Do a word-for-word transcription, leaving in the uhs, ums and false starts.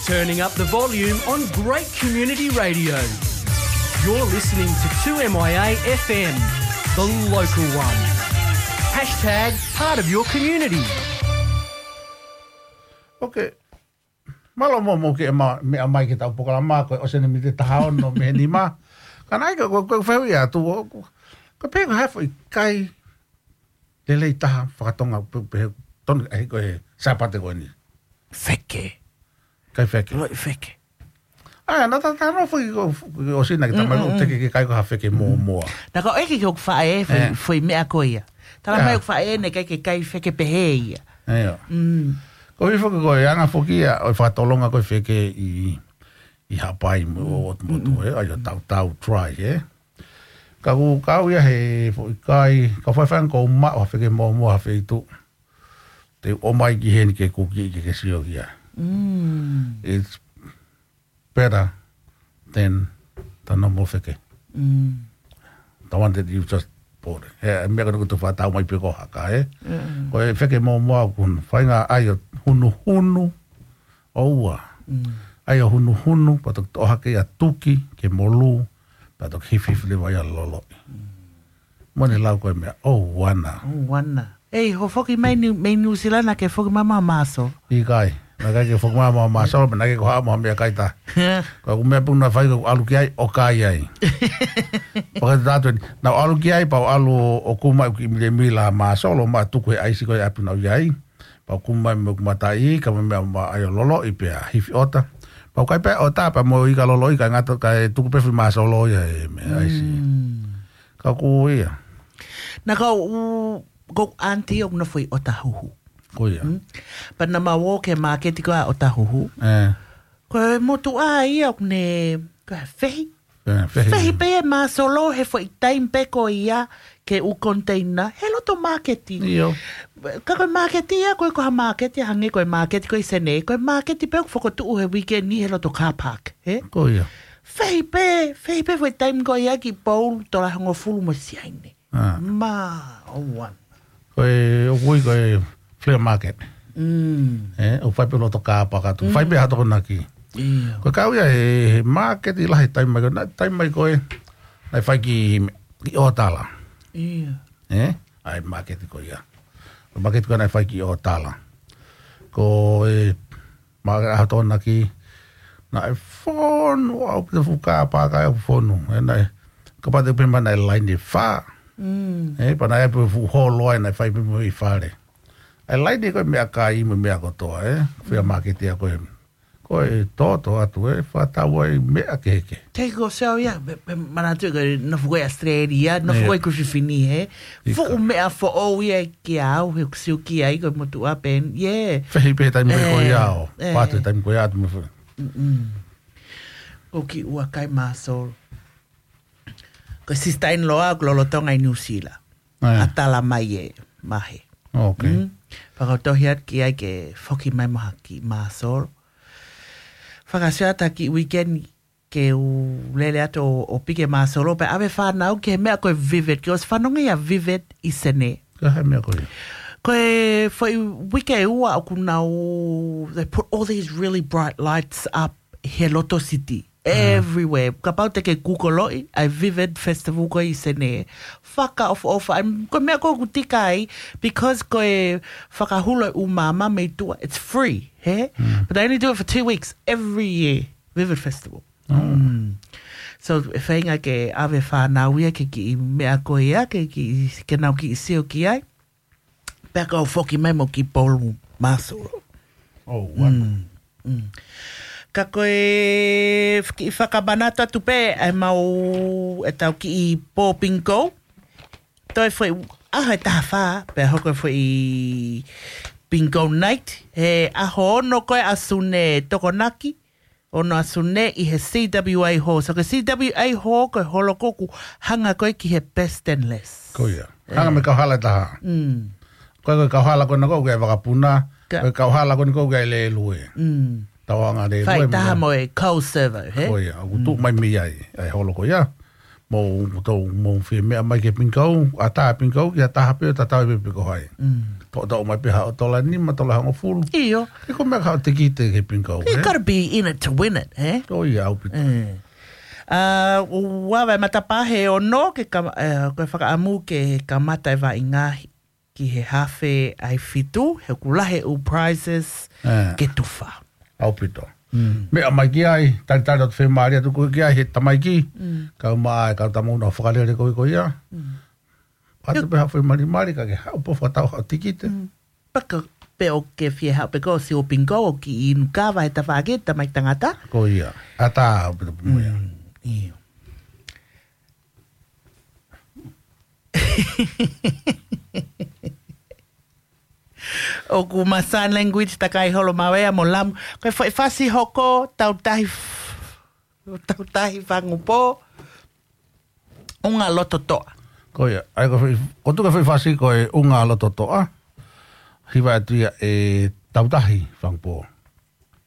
Turning up the volume on great community radio. You're listening to two M I A F M, the local one. Hashtag part of your community. Ok. Mālō mo mo ke ma me amai ke tau pokalama ko o sene mite taha ono me ni ma. Ka nai ka ko ko feu ia tu ko pe ko hafo i kai lelei taha fakatonga pe pe ton ai ko e sapate ko ni. Feke. Kai feke. Loi feke. Ai na ta ta no fui ko o sina ke tamai ko teke ke kai ko ha feke mo mo. Na ka ʻeke ki hoku faʻē fui, Eh. fui meʻa ko ia. Tala Yeah. mai hoku faʻē ne kai ke kai feke pehē ia. Eo. Mm. Ko i foki ko e anga foki ia o fakatolonga ko e feke i i hapai mo o motu e ai o tau tau try e. Ka ku kau ia he foʻi kai ka fai fanga ko ma o feke mo mo ha feitu. Te o mai ki heni ke kuki ke ke sio kia. Mm. It's better than the normal feke. Mm. The one that you just bought. He mea ka nuku tu fa tau mai pe ko haka e. Ko e feke mo mo au kun fainga ai o hunu hunu o ua. Ai o hunu hunu pa tok to hake ia tuki ke molu pa tok hifi fili vai a lolo. Mo ne lau ko e mea o wana. O wana. Ei, ho foki mai ni mai New Zealand na ke foki mai ma maso. I kai. Na kai ke foki mai ma maso, na kai ke ko ha mo mea kai ta. Ka ku mea puna fai ka ku alu ki ai o kai ai. Paka tatu ni na alu ki ai pa alu o kuma ki mile mila ma solo ma tuku he aisi ko e api na i ai. Pa kuma me kuma tai ka me mea ma ai o lolo i pea hifi ota. Pa kai pe ota pa mo i ka lolo i ka ngata ka e tuku pe fi ma solo ia e me aisi. Ka ku ia. Na ka u ko anti o na foi o tahuhu. Ko ia. Pa na ma wo ke maketi ko a o tahuhu. Eh. Ko e motu a ia o ne ko e fehi. Eh, fehi. Fehi pe e masolo he foʻi taimi pe ko ia ke u konteina he loto maketi. Io. Ka ko e maketi ia ko e ko ha maketi hange ko e maketi ko i sene ko e maketi pe o fokotuʻu he weekend ni he loto car park. He? Ko ia. Fehi pe, fehi pe foʻi taimi ko ia ki pou tola hongofulu mo siaine. Ah. Ma o wan. Ko e o kui ko e flea market. Mm. Eh, o fai pe loto ka paka tu. Fai pe hato ko naki. Ia. Ko e kau ia he, he market i lahi taimi mai ko na taimi mai ko e. Na fai ki ki o tala. Ia. Eh? Ai market ko ia. Ko market ko na fai ki o tala. Ko e ma hato naki na e fonu au ki fuka paka au fonu. E na e kapate pe mana e line fa. Mm. E pa na e pe fu holo ai na fai pe mo i fale. E line ko e mea kai mo mea kotoa e. Fea market ia ko e. Ko e toto atu e fakatau ai mea keke. Te ko se au ia, pe, pe manatu ko na fuko i Australia, na Ia. fuko i Griffithini he. Ika. Fuku mea fo o ia ki au, he kusiu ki ai ko motu a pen. Yeah. Fehi pe taimi ko Eh, ia o. eh. Patu taimi ko ia atu mo fe. Mm. O ki ua kai masol. Ko sister in law a ko lolotonga i New Zealand. Eh. A tala mai e mahe. Ok. Mm. Fakatohi atu ki ai ke foki mai mo haki masol. Fakasio atu ki weekend ke u lele atu o, o pike masolo pe ave fanau ke mea ko e vivid. Ke os fanonga ia vivid i sene. Ka he mea ko ia. Ko e foʻi wike ua o kunau, they put all these really bright lights up he loto city. Everywhere. Kapau te ke Google oi, ai Vivid Festival ko i sene. Faka of of, I'm ko mea ko kutika ai, because ko e fakahulo e umama mei tua, it's free, he? But they only do it for two weeks, every year, Vivid Festival. Mm. So, e fainga ke ave fanau ia ke ki mea ko ia, ke ki, ke nau ki sio ki ai. Pea kau foki mai mo ki polu masolo. Oh, one. Mm. Ka ko e ki fakamanatu atu pe, ai mau e tau ki i pō pinko. Toi foi aha e taha fa, pe hoko foi pinko night. He aho ono ko e asune tokonaki. Ono asune i he C W A Hall. So ko e C W A Hall ko e holo ko ku hanga ko e ki he best and less. Ko ia. Hanga me kauhala e taha. Mm. Ko e kauhala ko na ko ke vakapuna. Ka- Ko e kauhala ko na ko ke le lue. Mm. Tau anga le Fai lue. taha mo e kau server, he? Ko ia. Aku tu mai mi ai. Ai holo ko ia. Mo to mo fie mea mai ke pinko. A taha pinko. Ia taha pe ta tau pe pe ko hai. Mm. Toʻo, toʻo mai pē haʻo tola nima, tola hongofulu. ʻIo. He ko e meʻa ka haʻo tikite ki he bingo, He ē? Gotta be in it to win it, ē? Ko ia ʻaupito. Ē. ʻA, ua vai matapā he ono ke kam-, ē, ko e fakaʻamu ke kamata e vaʻinga ki he hafe ʻa e fitu, he ʻoku lahi e ʻū prizes Ē. ke tufa. ʻAupito. Mm. Meʻa mai ki ai, talitali atu fiemālie atu koe ki ai he tamaiki. Mm. Kau mai, kau tama ʻuna fakalele ko ē ko ia. Mm. ʻAtu pē haʻo foʻi malimali ka ke haʻu pē ʻo fakatau haʻo tikite. Mm. Paka pē ʻoku ke fie haʻu pē koe ʻo sio bingo ʻo kiʻi inu kava he tafaʻaki tamaiki tangata. Ko ia. ʻAtā ʻaupito pē mo ia. Mm, ʻio. ʻOku ma sign language takai holo mau ea mo Lamu. Ko e foʻi fasi hoko, tautahi f-, tautahi fangupō, ʻunga loto toʻa. Ko ia, ʻa ia ko e foʻi, ko e tuʻu ko e foʻi fasi ko e ʻunga loto toʻa. Hiva atu ia ʻe tautahi fangupō.